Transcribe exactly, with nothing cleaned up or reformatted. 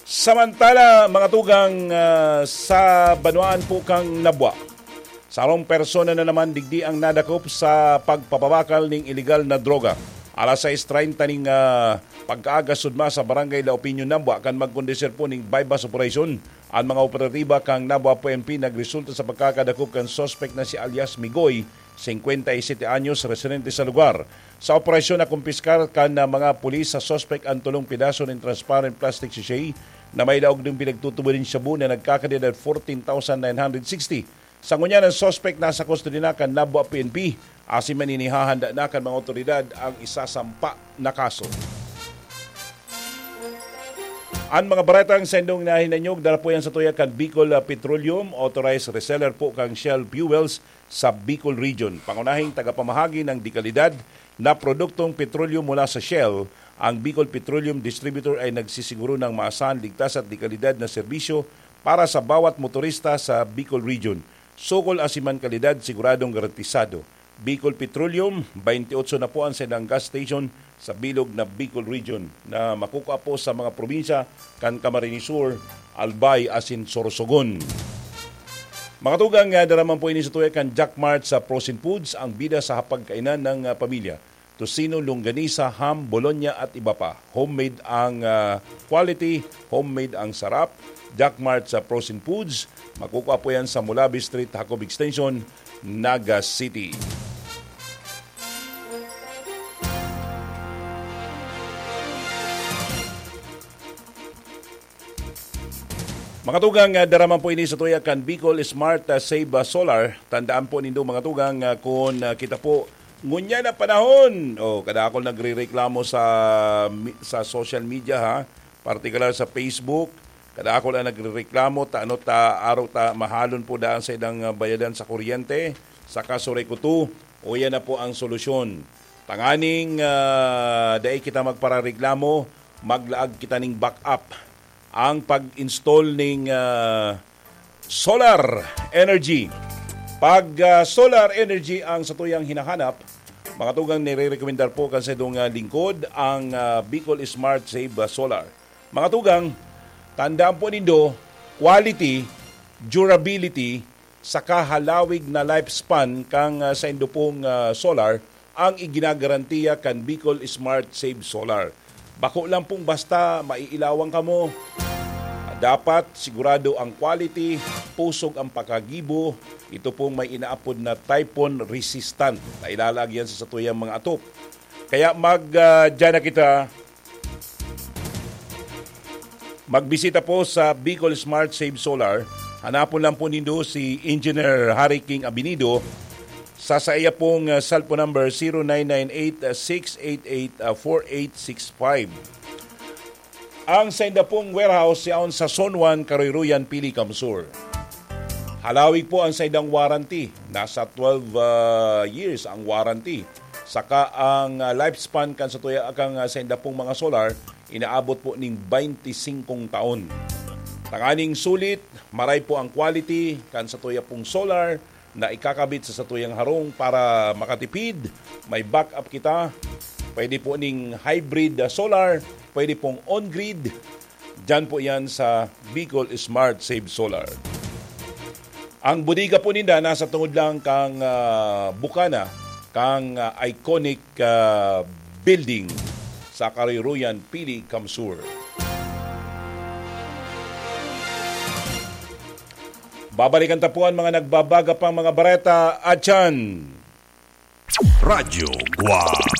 Samantala, mga tugang, ah, sa banwaan po kan Nabua, sarong persona na naman digdi ang nadakop sa pagpapabakal ning iligal na droga. Alas sais treinta ning, ah, pagkaaga, sudma sa Barangay La Opinion, Nabua, kan magkondusir po ning buy-bust operation an mga operatiba kan Nabua P N P, nagresulta sa pagkakadakop kan suspek na si alias Migoy, singkwenta y sete anyos, residente sa lugar. Sa operasyon, nakumpiskar kan, ah, mga pulis sa suspek ang tolong pedaso nin transparent plastic sachet na may laog nin pinagtutubod nin shabu na nagkakantidad fourteen thousand nine hundred sixty. Sa ngunyan, ang suspek nasa kustodiya na kan Nabua P N P, asin maninihahanda na kan mga otoridad ang isasampa na kaso. An mga baretang saindong nahinanyog, dara po yan sa tuya kan Bicol, ah, Petroleum, authorized reseller po kan Shell Fuels sa Bicol Region. Pangunahing tagapamahagi ng dekalidad na produktong petrolyo mula sa Shell, ang Bicol Petroleum Distributor ay nagsisiguro ng maasahan, ligtas at dekalidad na serbisyo para sa bawat motorista sa Bicol Region. Sukol asin man kalidad, siguradong garantisado. Bicol Petroleum, twenty-eight na po ang saindang gas station sa bilog na Bicol Region na makukua po sa mga probinsya kan Camarines Sur, Albay asin Sorsogon. Mga tugang, ah, dara man po ini sa tuya kan Jack Mart sa Frozen Foods, ang bida sa hapagkainan ng, ah, pamilya. Tocino, longganisa, ham, bologna at iba pa. Homemade ang, ah, quality, homemade ang sarap. Jack Mart sa Frozen Foods, makukua po yan sa Mulabi Street, Jacob Extension, Naga City. Mga tugang, ah, dara man po ini sa tuya kan Bicol Smart, ah, Save, ah, Solar. Tandaan po nindo, mga tugang, ah, kun, ah, kita po ngunyan na panahon, oh, kadakol nagrereklamo sa mi-, sa social media, ha, partikular sa Facebook. Kadakol ang nagrereklamo, ta ano ta, araw ta mahalon po daan sa ilang, ah, bayadan sa kuryente, sa kasurekuto. O yan na po ang solusyon. Tanganing, ah, dai kita magparareklamo, maglaag kita ning backup. Ang pag-install ning, ah, solar energy. Pag, ah, solar energy ang satuyang hinahanap, mga tugang, nire-recommendar po kan saindong, ah, lingkod, ang, ah, Bicol Smart Save, ah, Solar. Mga tugang, tandaan po nindo, quality, durability, saka halawig na lifespan kan, ah, saindo pong, ah, solar ang iginagarantiya kan Bicol Smart Save Solar. Bako lang pong basta maiilawan kamo. Dapat sigurado ang quality, pusog ang pagkagibo. Ito pong may inaapod na typhoon resistant na ilalaag yan sa satuyang mga atop. Kaya mag, ah, dyan na kita. Magbisita po sa Bicol Smart Save Solar. Hanapon lang po nindo si Engineer Harry King Abinido sa saiya pong, ah, cellphone number, zero nine nine eight six eight eight four eight six five. Ang sainda pong warehouse yaon sa Zone one, Karoyroyan, Pili, Kamsur. Halawig po ang saindang warranty. Nasa twelve, ah, years ang warranty. Saka ang, ah, lifespan kan satuya, kang, ah, sainda pong mga solar, inaabot po ning twenty-singkong taon. Tanganing sulit, maray po ang quality kan satuya pong solar na ikakabit sa satuyang harong para makatipid. May backup kita. Pwede po ning hybrid, ah, solar, pwede pong on-grid. Diyan po yan sa Bicol Smart Save Solar. Ang bodega po ninda nasa tungod lang kang, ah, bukana, kang, ah, iconic, ah, building sa Karoyroyan, Pili, Kamsur. Babalikan ta po ang mga nagbabaga pang mga bareta, atyan. Radyo Guwang.